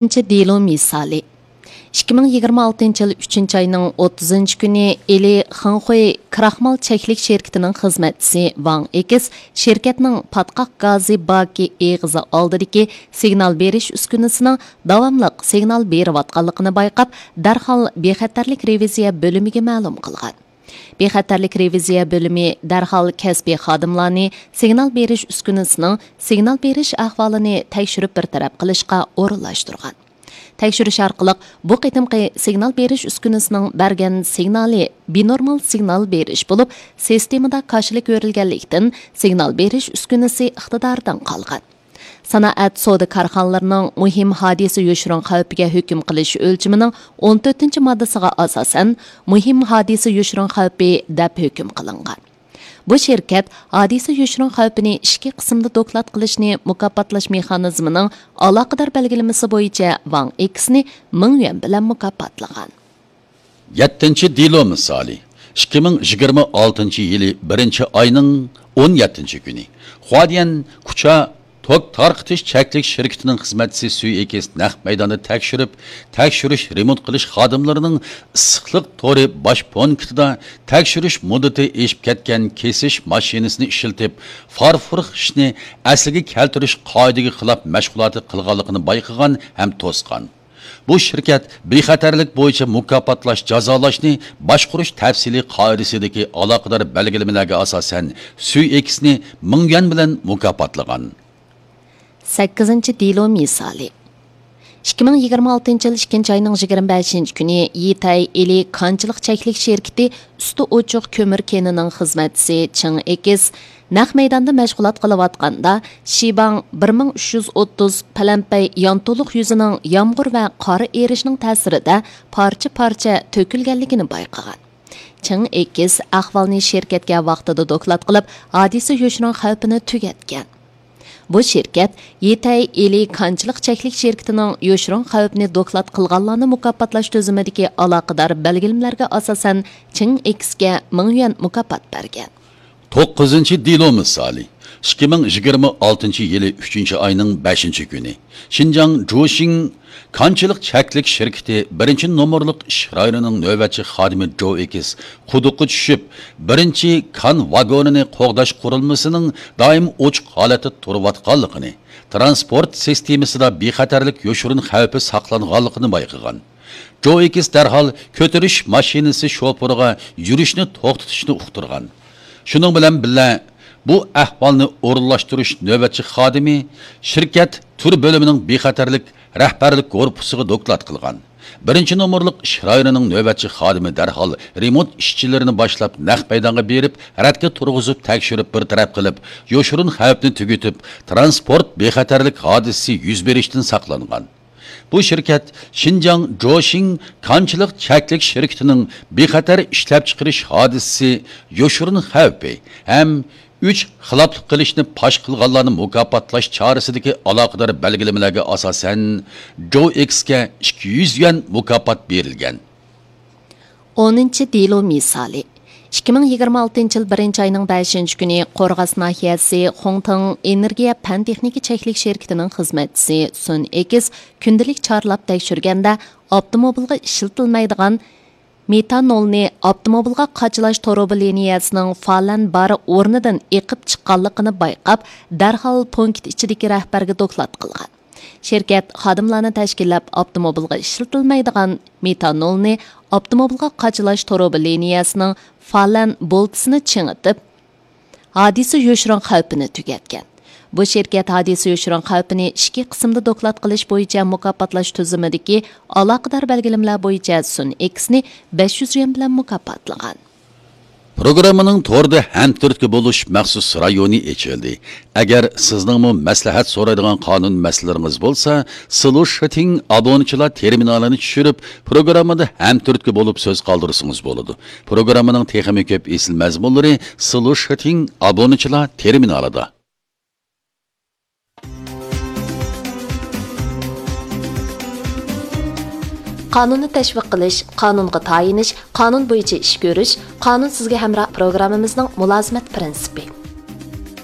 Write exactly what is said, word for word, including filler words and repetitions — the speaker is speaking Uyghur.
ئىككىنچى دېلو مىسالى. ئىككى مىڭ يىگىرمە ئالتىنچى يىل ئۈچىنچى ئاينىڭ ئوتتۇزىنچى كۈنى ئىلى خېڭخۇي كراخمال چەكلىك شىركىتىنىڭ خىزمەتچىسى ۋاڭ ئېكىس شىركەتنىڭ پاتقاق گازى باكى ئېغىزى ئالدىدىكى سىگنال بېرىش ئۈسكۈنىسىنىڭ داۋاملىق سىگنال بېرىۋاتقانلىقىنى بايقاپ، دەرھال بىخەتەرلىك رېۋىزىيە بۆلۈمىگە مەلۇم قىلغان. بىخەتەرلىك رېۋىزىيە بۆلۈمى دەرھال كەسپىي خادىملارنى سىگنال بېرىش ئۈسكۈنىسىنىڭ سىگنال بېرىش ئەھۋالىنى تەكشۈرۈپ بىر تەرەپ قىلىشقا ئورۇنلاشتۇرغان. تەكشۈرۈش ئارقىلىق بۇ قېتىمقى سىگنال بېرىش ئۈسكۈنىسىنىڭ بەرگەن سىگنالى بىنورمال سىگنال بېرىش بولۇپ، سىستېمىدا كاشىلىك ئۆرۈلگەنلىكتىن، سىگنال بېرىش ئۈسكۈنىسى ئىقتىدارىدىن قالغان. سانائەت سودا كارخانىلىرىنىڭ مۇھىم ھادىسە يوشۇرۇن خەۋپىگە ھۆكۈم قىلىش ئۆلچىمىنىڭ ئون تۆتىنچى ماددىسىغا ئاساسەن، مۇھىم ھادىسە يوشۇرۇن خەۋپى دەپ ھۆكۈم قىلىنغان. بۇ شىركەت ھادىسە يوشۇرۇن خەۋپىنى ئىككى قىسىمدا دوكلات قىلىشنى مۇكاپاتلاش مېخانىزمىنىڭ ئالاقىدار بەلگىلىمىسى بويىچە ۋاڭ ئېكسنى مىڭ يۈەن بىلەن مۇكاپاتلىغان. يەتتىنچى دېلو مىسالى. ئىككى مىڭ يىگىرمە ئالتىنچى يىلى بىرىنچى ئاينىڭ ئون يەتتىنچى كۈنى، خۇادىيەن كۇچا توك تارقىتىش چەكلىك شىركىتىنىڭ خىزمەتچىسى سۈي ئېكىس نەق مەيداندا تەكشۈرۈپ، تەكشۈرۈش، رېمونت قىلىش خادىملىرىنىڭ ئىسسىقلىق تورى باش پونكىتىدا تەكشۈرۈش مۇددىتى ئېشىپ كەتكەن كېسىش ماشىنىسىنى ئىشلىتىپ، فارفور خىشنى ئەسلىگە كەلتۈرۈش قائىدىگە خىلاپ مەشغۇلاتى قىلغانلىقىنى بايقىغان ھەم توسقان. بۇ شىركەت بىخەتەرلىك بويىچە مۇكاپاتلاش، جازالاشنى باشقۇرۇش تەپسىلىي قائىدىسىدىكى ئالاقىدار بەلگىلىمىلەرگە ئاساسەن، سۈي ئېكىسنى مىڭ يۈەن بىلەن مۇكاپاتلىغان. سەككىزىنچى دېلو مىسالى. ئىككى مىڭ يىگىرمە ئالتىنچى يىل ئىككىنچى ئاينىڭ يىگىرمە بەشىنچى كۈنى يىتەي ئىلى كانچىلىق چەكلىك شىركىتى ئۈستى ئوچۇق كۆمۈر كېنىنىڭ خىزمەتچىسى چىڭ ئېكىس نەق مەيداندا مەشغۇلات قىلىۋاتقاندا، شىباڭ بىر مىڭ ئۈچ يۈز ئوتتۇز پەلەنپەي يانتۇلۇق يۈزىنىڭ يامغۇر ۋە قار ئېرىشنىڭ تەسىرىدە پارچە-پارچە تۆكۈلگەنلىكىنى بايقىغان. چىڭ ئېكىس ئەھۋالنى شىركەتكە ۋاقتىدا دوكلات قىلىپ، ھادىسە يوشۇرۇن خەۋپىنى تۈگەتكەن. بۇ شىركەت يىتەي ئىلى كانچىلىق چەكلىك شىركىتىنىڭ يوشۇرۇن خەۋپنى دوكلات قىلغانلارنى مۇكاپاتلاش تۈزۈمىدىكى ئالاقىدار بەلگىلىمىلەرگە ئاساسەن، چىڭ ئېكىسكە مىڭ يۈەن مۇكاپات بەرگەن. توققۇزىنچى دېلو مىسالى. ئىككى مىڭ يىگىرمە ئالتىنچى يىلى ئۈچىنچى ئاينىڭ بەشىنچى كۈنى، شىنجاڭ جوشىڭ كانچىلىق چەكلىك شىركىتى بىرىنچى نومۇرلۇق ئىش رايونىنىڭ نۆۋەتچى خادىمى جو ئېكىس قۇدۇققا چۈشۈپ، بىرىنچى كان ۋاگونىنى قوغداش قۇرۇلمىسىنىڭ دائىم ئوچۇق ھالەتتە تۇرۇۋاتقانلىقىنى، تىرانسپورت سىستېمىسىدا بىخەتەرلىك يوشۇرۇن خەۋپى ساقلانغانلىقىنى بايقىغان. جو ئېكىس دەرھال كۆتۈرۈش ماشىنىسى شوپۇرىغا يۈرۈشنى توختىتىشنى ئۇقتۇرغان. شۇنىڭ بىلەن بىللە، بۇ ئەھۋالنى ئورۇنلاشتۇرۇش نۆۋەتچى خادىمى شىركەت تۈر بۆلۈمىنىڭ بىخەتەرلىك رەھبەرلىك گۇرۇپپىسىغا دوكلات قىلغان. بىرىنچى نومۇرلۇق ئىش رايونىنىڭ نۆۋەتچى خادىمى دەرھال رېمونت ئىشچىلىرىنى باشلاپ، نەق مەيدانغا بېرىپ، رەتكە تۇرغۇزۇپ، تەكشۈرۈپ بىر تەرەپ قىلىپ، يوشۇرۇن خەۋپنى تۈگىتىپ، تىرانسپورت بىخەتەرلىك ھادىسىسى يۈز بېرىشتىن ساقلانغان. بۇ شىركەت شىنجاڭ جوشىڭ كانچىلىق چەكلىك شىركىتىنىڭ بىخەتەر ئىشلەپچىقىرىش ھادىسىسى يوشۇرۇن خەۋپى ھەم ئۈچ خىلاپلىق قىلىشنى پاش قىلغانلارنى مۇكاپاتلاش چارىسىدىكى ئالاقىدار بەلگىلىمىلەرگە ئاساسەن، جو ئېكىسكە ئىككى يۈز يۈەن مۇكاپات بېرىلگەن. ئونىنچى دېلو مىسالى. ئىككى مىڭ يىگىرمە ئالتىنچى يىل بىرىنچى ئاينىڭ بەشىنچى كۈنى قورغاس ناھىيەسى خۇڭتىڭ ئېنېرگىيە پەن تېخنىكا چەكلىك شىركىتىنىڭ خىزمەتچىسى سۈن ئېكىس كۈندىلىك چارلاپ تەكشۈرگەندە، ئاپتوموبىلغا ئىشلىتىلمەيدىغان مېتانولنى ئاپتوموبىلغا قاچىلاش تۇرۇبا لىنىيەسىنىڭ فالەن بار ئورنىدىن ئېقىپ چىققانلىقىنى بايقاپ، دەرھال پونكىت ئىچىدىكى رەھبەرگە دوكلات قىلغان. شىركەت خادىملارنى تەشكىللەپ، ئاپتوموبىلغا ئىشلىتىلمەيدىغان مېتانولنى ئاپتوموبىلغا قاچىلاش تۇرۇبا لىنىيەسىنىڭ فالەن بولتىسىنى چىڭىتىپ، ھادىسە يوشۇرۇن خەۋپىنى تۈگەتكەن. بۇ شىركەت ھادىسە يوشۇرۇن خەۋپىنى ئىككى قىسىمدا دوكلات قىلىش بويىچە مۇكاپاتلاش تۈزۈمىدىكى ئالاقىدار بەلگىلىمىلەر بويىچە سۈن ئېكىسنى بەش يۈز يۈەن بىلەن مۇكاپاتلىغان. پروگراممىنىڭ توردا ھەمتۈرتكە بولۇش مەخسۇس رايونى ئېچىلدى. ئەگەر سىزنىڭمۇ مەسلىھەت سورايدىغان قانۇن مەسىلىلىرىڭىز بولسا، سلۇشىتىڭ ئابۇنىچىلار تېرمىنالىنى چۈشۈرۈپ، پروگراممىدا ھەمتۈرتكە بولۇپ سۆز قالدۇرسىڭىز بولىدۇ. پروگراممىنىڭ تېخىمۇ كۆپ ئېسىل مەزمۇنلىرى سلۇشىتىڭ ئابۇنىچىلار تېرمىنالىدا. قانۇننى تەشۋىق قىلىش، قانۇنغا تايىنىش، قانۇن بويىچە ئىش كۆرۈش، قانۇن سىزگە ھەمراھ پروگراممىمىزنىڭ مۇلازىمەت پىرىنسىپى.